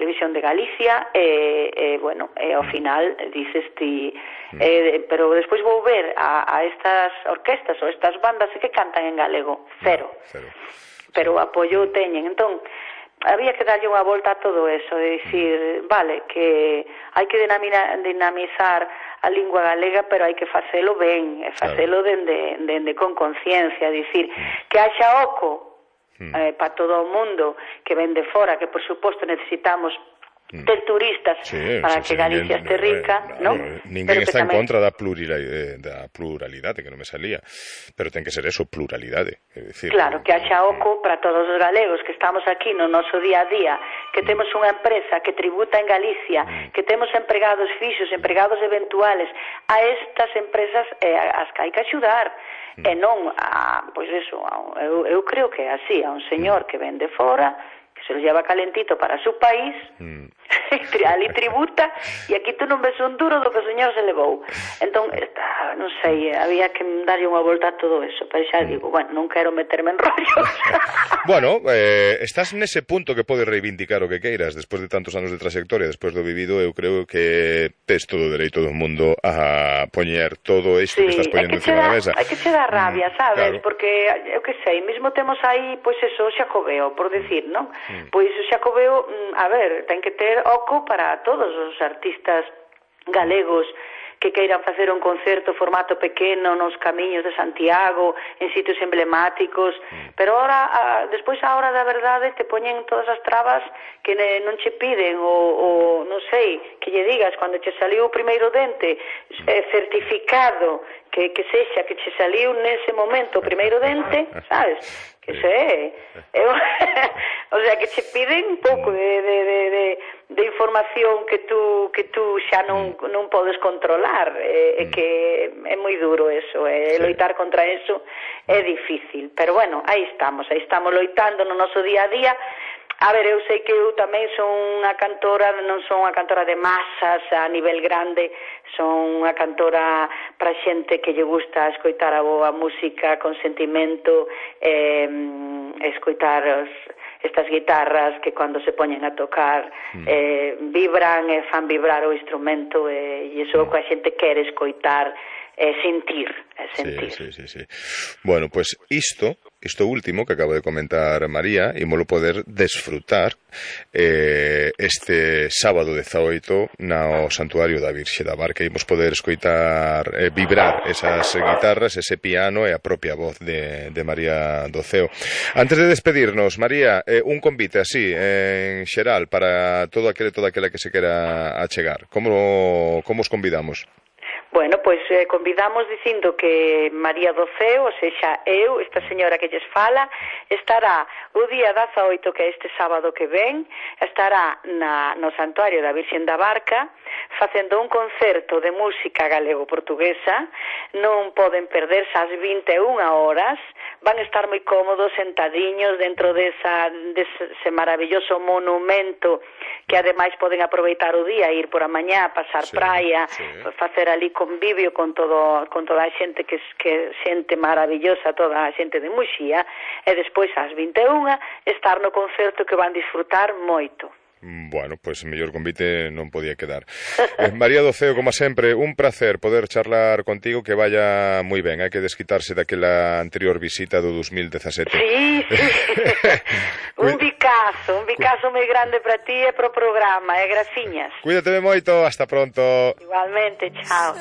Televisión de Galicia bueno, ao final dices ti pero despois vou ver a estas orquestas ou estas bandas que cantan en galego, cero. Pero o apoio teñen, entón había que darlle unha volta a todo eso, de dicir, vale, que hai que dinamizar a lingua galega, pero hai que facelo ben, e facelo dende con conciencia, dicir, que haxa oco para todo o mundo que ven de fora, que por suposto necesitamos ter turistas para que Galicia este rica, non? Ninguén está en contra da pluralidade, que non me salía, pero ten que ser eso, pluralidade. Claro, que haxa oco para todos os galegos que estamos aquí no noso día a día, que temos unha empresa que tributa en Galicia, que temos empregados fixos, empregados eventuales, a estas empresas as que hai que axudar, e non pois eso, eu creo que é así, a un señor que ven de fora, que se lo lleva calentito para su país, ali tributa, e aquí tú non ves un duro do que o señor se levou. Entón, non sei, había que darlle unha volta a todo eso, pero xa digo, bueno, non quero meterme en rollos. Bueno, estás nese punto que podes reivindicar o que queiras, despois de tantos anos de trayectoria, despois do vivido, eu creo que tes todo o dereito do mundo a poñer todo isto que estás poñendo encima da mesa. Hai que che dar rabia, sabes? Claro. Porque, eu que sei, mesmo temos aí, pois eso, o Xacobeo, por decir, non? Pois o Xacobeo, a ver, ten que ter oco para todos os artistas galegos que queiran facer un concerto formato pequeno nos camiños de Santiago, en sitios emblemáticos, pero ahora, despois a hora da verdade te poñen todas as trabas que non che piden, ou non sei, que lle digas, cando che saliu o primeiro dente, certificado que sexa, que che saliu nese momento o primeiro dente, sabes? Que sei, o sea, que che piden un pouco de información que tú xa non podes controlar, que é moi duro eso, loitar contra eso é difícil, pero bueno, aí estamos loitando no noso día a día. A ver, eu sei que eu tamén son unha cantora, non son unha cantora de masas a nivel grande, son unha cantora para xente que lle gusta escoitar a boa música con sentimento, escoitar estas guitarras que cando se poñen a tocar vibran e fan vibrar o instrumento, e iso é o que a xente quere escoitar, sentir. Sí. Bueno, pues isto último que acabo de comentar María, ímolo poder desfrutar este sábado 18 no Santuario da Virxe da Barca. Imos poder escoitar vibrar esas guitarras, ese piano e a propia voz de María Doceo. Antes de despedirnos, María, un convite así en xeral para toda aquela que se quera achegar. Como os convidamos? Bueno, pois convidamos dicindo que María Doceo, ou sexa eu, esta señora que lles fala, estará o día 18, que é este sábado que ven, estará no Santuario da Virxen da Barca, facendo un concerto de música galego-portuguesa. Non poden perderse ás 21 horas, van estar moi cómodos, sentadiños dentro dese maravilloso monumento, que ademais poden aproveitar o día, ir por a mañá, pasar praia, facer ali convivio con toda a xente que xente maravillosa, toda a xente de Muxía, e despois ás 21 estar no concerto que van disfrutar moito. Bueno, pois mellor convite non podía quedar. María Doceo, como sempre, un placer poder charlar contigo, que vaya moi ben, hai que desquitarse daquela anterior visita do 2017. Sí. Un bicazo moi grande para ti e pro programa, graciñas. Cuídate moito, hasta pronto. Igualmente, chao.